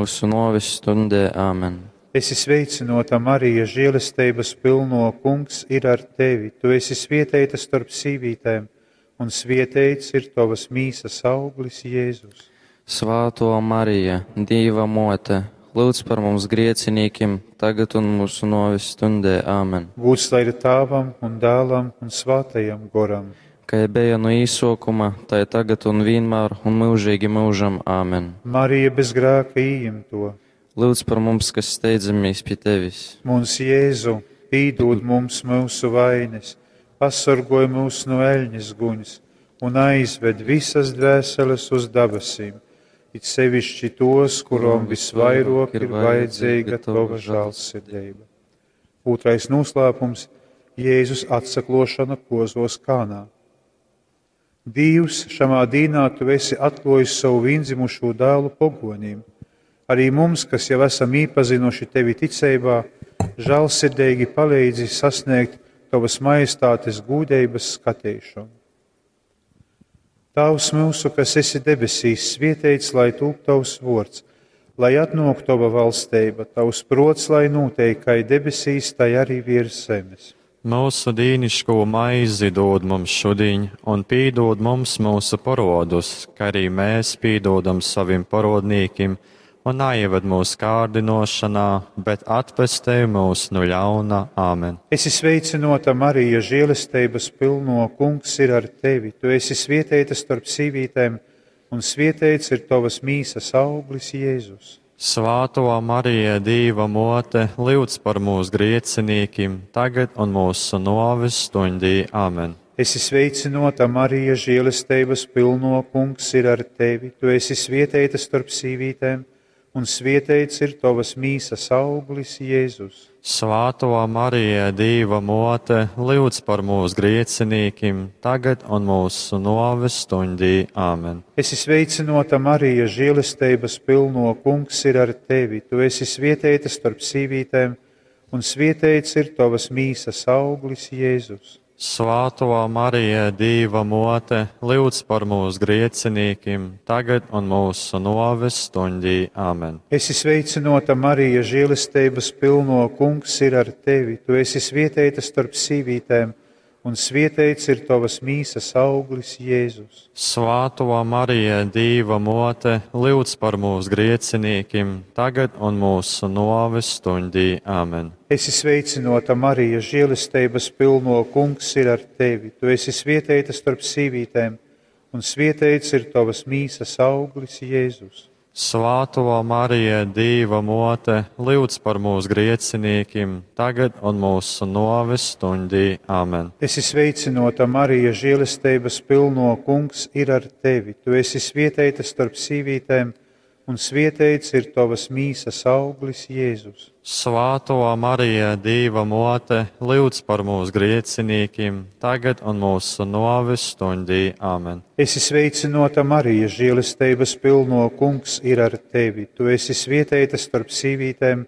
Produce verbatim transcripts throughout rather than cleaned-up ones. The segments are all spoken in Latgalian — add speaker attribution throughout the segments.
Speaker 1: mūsu nōves stundē. Āmen.
Speaker 2: Esi sveicināta, Marija, žēlestības pilno, Kungs ir ar tevi. Tu esi svētīta starp sīvītēm, un svētīts ir tavas mīsas auglis, Jēzus.
Speaker 1: Svāto Marija, Dīva mote, lūdz par mums griecinīkim, tagad un mūsu nōves stundē. Āmen.
Speaker 2: Gūds lai ir Tāvam un Dēlam un Svātajam Goram.
Speaker 1: Kā bija no īsokuma, tai tagad un vienmēr un mūžīgi mūžam. Āmen.
Speaker 2: Marija bez grēka ījimto.
Speaker 1: Lūdz par mums, kas steidzamies pie tevis.
Speaker 2: Mums Jēzu, pīdod mums mūsu vainas, pasargoj mūs no eļņas guņas un aizved visas dvēseles uz dabasīm, it sevišķi tos, kurom visvairāk ir vajadzīga tava žēlsirdība. Otrais noslēpums - Jēzus atsaklošana kozos Kānā. Dievs, šamā dīnā tu esi atklājis savu viendzimušo dēlu pogoniem. Arī mums, kas jau esam iepazinuši tevi ticībā, žēlsirdīgi palīdzi sasniegt tavas majestātes gūdeibas skatīšanu. Tavs mūsu, kas esi debesīs, svietēts, lai tūp tavs vords, lai atnāk tava valstība, tavs prots, lai notiek, kā debesīs, tai arī virs zemes.
Speaker 3: Mūsu dīniško maizi dod mums šodien, un pīdod mums mūsu parodus, kā arī mēs pīdodam savim parodnīkim, un neieved mūsu kārdinošanā, bet atpestej mūs no ļauna. Āmen.
Speaker 2: Esi sveicināta, Marija, žēlestības pilno, Kungs ir ar tevi. Tu esi svietēta starp sīvītēm, un svietēts ir tavas mīsas auglis, Jēzus.
Speaker 3: Svāto Marija, Dīva mote, lūdz par mūsu griecinīkim, tagad un mūsu noves stundī. Āmen.
Speaker 2: Esi sveicināta, Marija, žēlestības pilno, Kungs ir ar tevi. Tu esi svietēta starp sīvītēm, un svietēts ir tavas mīsas auglis, Jēzus.
Speaker 3: Svāto Marija, Dīva mote, lūdz par mūsu griecinīkim, tagad un mūsu noves stundī. Āmen.
Speaker 2: Esi sveicināta, Marija, žēlestības pilno, Kungs ir ar tevi. Tu esi svietēta starp sīvītēm, un svietēts ir tavas mīsas auglis, Jēzus.
Speaker 3: Svāto Marija, Dīva mote, lūdz par mūsu griecinīkim, tagad un mūsu noves stundī. Āmen.
Speaker 2: Esi sveicināta, Marija, žēlestības pilno, Kungs ir ar tevi. Tu esi svietēta starp sīvītēm, un svietēts ir tavas mīsas auglis, Jēzus.
Speaker 3: Svāto Marija, Dīva mote, lūdz par mūsu griecinīkim, tagad un mūsu noves stundī. Āmen.
Speaker 2: Esi sveicināta, Marija, žēlestības pilno, Kungs ir ar tevi. Tu esi svietēta starp sīvītēm, un svietēts ir tavas mīsas auglis, Jēzus.
Speaker 3: Svāto Marija, Dīva mote, lūdz par mūsu griecinīkim, tagad un mūsu noves stundī. Āmen.
Speaker 2: Esi sveicināta, Marija, žēlestības pilno, Kungs ir ar tevi. Tu esi svietēta starp sīvītēm, un svietēts ir tavas mīsas auglis, Jēzus.
Speaker 3: Svāto Marija, Dīva mote, lūdz par mūsu griecinīkim, tagad un mūsu noves stundī. Āmen.
Speaker 2: Esi sveicināta, Marija, žēlestības pilno, Kungs ir ar tevi. Tu esi svietēta starp sīvītēm,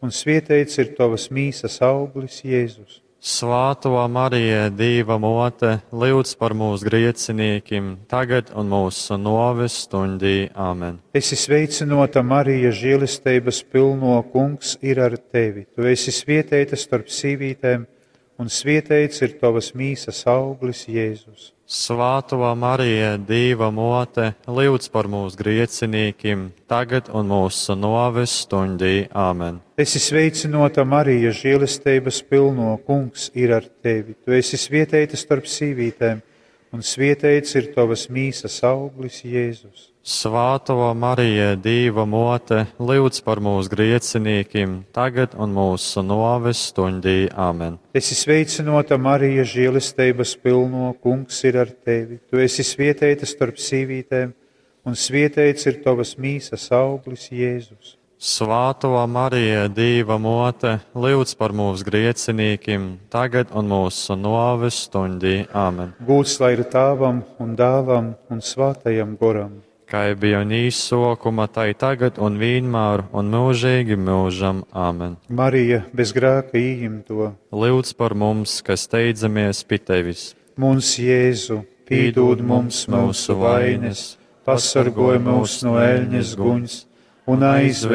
Speaker 2: un svietēts ir tavas mīsas auglis, Jēzus.
Speaker 3: Svāto Marija, Dīva mote, lūdz par mūsu griecinīkim, tagad un mūsu noves stundī. Āmen.
Speaker 2: Esi sveicināta, Marija, žēlestības pilno, Kungs ir ar tevi. Tu esi svietēta starp sīvītēm, un svietēts ir tavas mīsas auglis, Jēzus.
Speaker 3: Svāto Marija, Dīva mote, lūdz par mūsu griecinīkim, tagad un mūsu noves stundī. Āmen.
Speaker 2: Esi sveicināta, Marija, žēlestības pilno, Kungs ir ar tevi. Tu esi svietēta starp sīvītēm, un svietēts ir tavas mīsas auglis, Jēzus.
Speaker 3: Svāto Marija, Dīva mote, lūdz par mūsu griecinīkim, tagad un mūsu noves stundī. Āmen.
Speaker 2: Esi sveicināta, Marija, žēlestības pilno, Kungs ir ar tevi. Tu esi svietēta starp sīvītēm, un svietēts ir tavas mīsas auglis, Jēzus.
Speaker 3: Svāto Marija, Dīva mote, lūdz par mūsu griecinīkim, tagad un mūsu noves stundī. Āmen.
Speaker 2: Gūts lai ir Tēvam un Dēlam un Svātajam Goram.
Speaker 3: Kā bija un īsokuma, tai tagad un vienmēr un mūžīgi mūžam. Āmen.
Speaker 2: Marija bez grēka ījimto,
Speaker 3: Lūdz par mums, kas steidzamies pie tevis.
Speaker 2: Mums Jēzu, pīdod mums mūsu vainas, pasargoj mūs no eļņas guņas un aizved